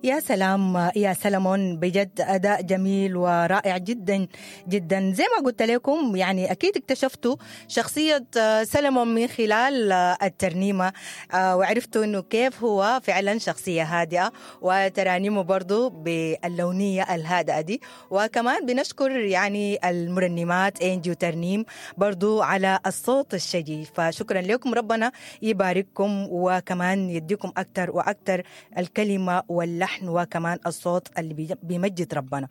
يا سلام يا سلمون، بجد أداء جميل ورائع جدا جدا. زي ما قلت لكم يعني أكيد اكتشفتوا شخصية سلمون من خلال الترنيمة، وعرفتوا أنه كيف هو فعلا شخصية هادئة وترانيمه برضو باللونية الهادئة دي. وكمان بنشكر يعني المرنمات إنجي وترنيم برضو على الصوت الشجي، فشكرا لكم، ربنا يبارككم وكمان يديكم أكتر وأكتر الكلمة واللحن وكمان الصوت اللي بيمجد ربنا.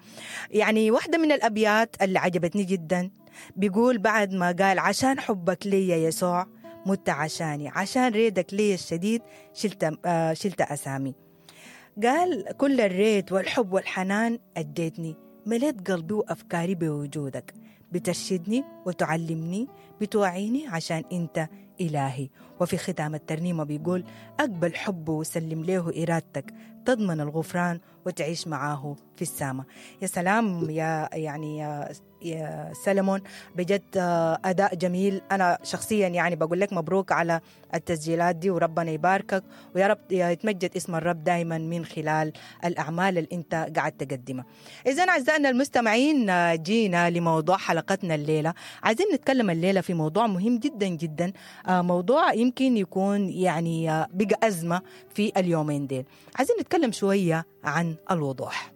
يعني واحدة من الأبيات اللي عجبتني جدا بيقول بعد ما قال عشان حبك لي يا يسوع مت عشاني، عشان ريدك لي الشديد شلت أسامي. قال كل الريد والحب والحنان أديتني، مليت قلبي وأفكاري بوجودك، بترشدني وتعلمني، بتوعيني عشان أنت إلهي. وفي ختام الترنيمة بيقول أقبل حبه وسلم له إرادتك، تضمن الغفران وتعيش معاه في السماء. يا سلام يا يعني يا سلمون، بجد أداء جميل. أنا شخصيا يعني بقول لك مبروك على التسجيلات دي، وربنا يباركك ويا رب يتمجد اسم الرب دايما من خلال الأعمال اللي أنت قاعد تقدمها. إذن أعزائنا المستمعين، جينا لموضوع حلقتنا الليلة. عايزين نتكلم الليلة في موضوع مهم جدا جدا، موضوع يمكن يكون يعني بقى أزمة في اليومين ديل. عايزين نتكلم شوية عن الوضوح.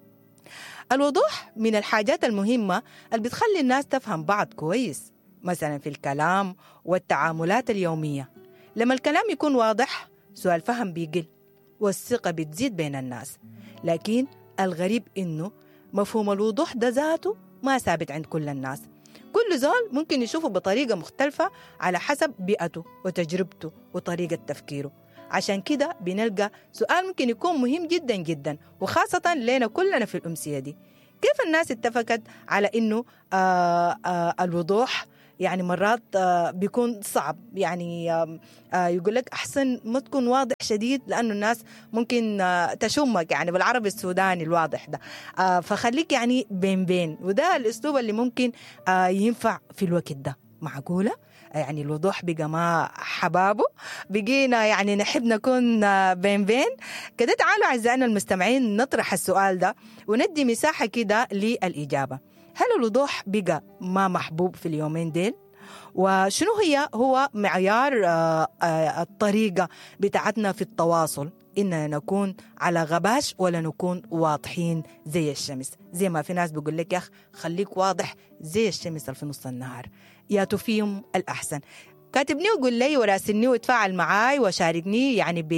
الوضوح من الحاجات المهمة اللي بتخلي الناس تفهم بعض كويس، مثلا في الكلام والتعاملات اليومية. لما الكلام يكون واضح سوء الفهم بيقل والثقة بتزيد بين الناس. لكن الغريب إنه مفهوم الوضوح ده ذاته ما ثابت عند كل الناس. كل زول ممكن يشوفه بطريقة مختلفة على حسب بيئته وتجربته وطريقة تفكيره. عشان كده بنلقى سؤال ممكن يكون مهم جدا جدا، وخاصة لنا كلنا في الأمسية دي: كيف الناس اتفقت على إنه الوضوح يعني مرات بيكون صعب؟ يعني يقول لك أحسن ما تكون واضح شديد لأنه الناس ممكن تشمك، يعني بالعربي السوداني الواضح ده، فخليك يعني بين بين. وده الأسلوب اللي ممكن ينفع في الوقت ده. معقولة؟ يعني الوضوح بقى ما حبابه، بقينا يعني نحب نكون بين بين كده. تعالوا أعزائنا المستمعين نطرح السؤال ده وندي مساحة كده للإجابة. هل الوضوح بقى ما محبوب في اليومين ديل؟ وشنو هو معيار الطريقة بتاعتنا في التواصل؟ إننا نكون على غباش ولا نكون واضحين زي الشمس؟ زي ما في ناس بيقول لك يا أخ خليك واضح زي الشمس في نص النهار، يا تفيهم الأحسن. كاتبني وقول لي وراسلني وتفاعل معاي وشاركني يعني ب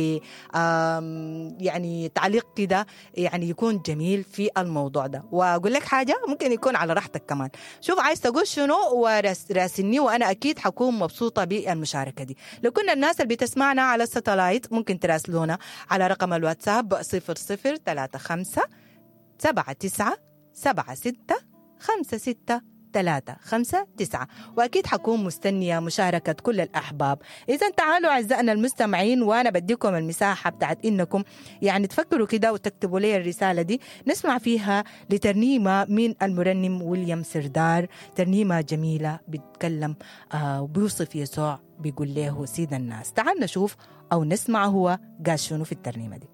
يعني تعليق كده يعني يكون جميل في الموضوع ده. واقول لك حاجه، ممكن يكون على راحتك كمان. شوف عايز تقول شنو وراسلني، وانا اكيد حكون مبسوطه بالمشاركه دي. لو كنا الناس اللي بتسمعنا على الستلايت ممكن تراسلونا على رقم الواتساب 0035 79 76 56 3 5 9، وأكيد حكون مستنية مشاركة كل الأحباب. إذا تعالوا أعزائنا المستمعين، وأنا بديكم المساحة بتاعت إنكم يعني تفكروا كده وتكتبوا لي الرسالة دي نسمع فيها لترنيمة من المرنم ويليام سردار، ترنيمة جميلة بيتكلم وبيوصف يسوع، بيقول له سيد الناس. تعال نشوف أو نسمع هو قال شنو في الترنيمة دي.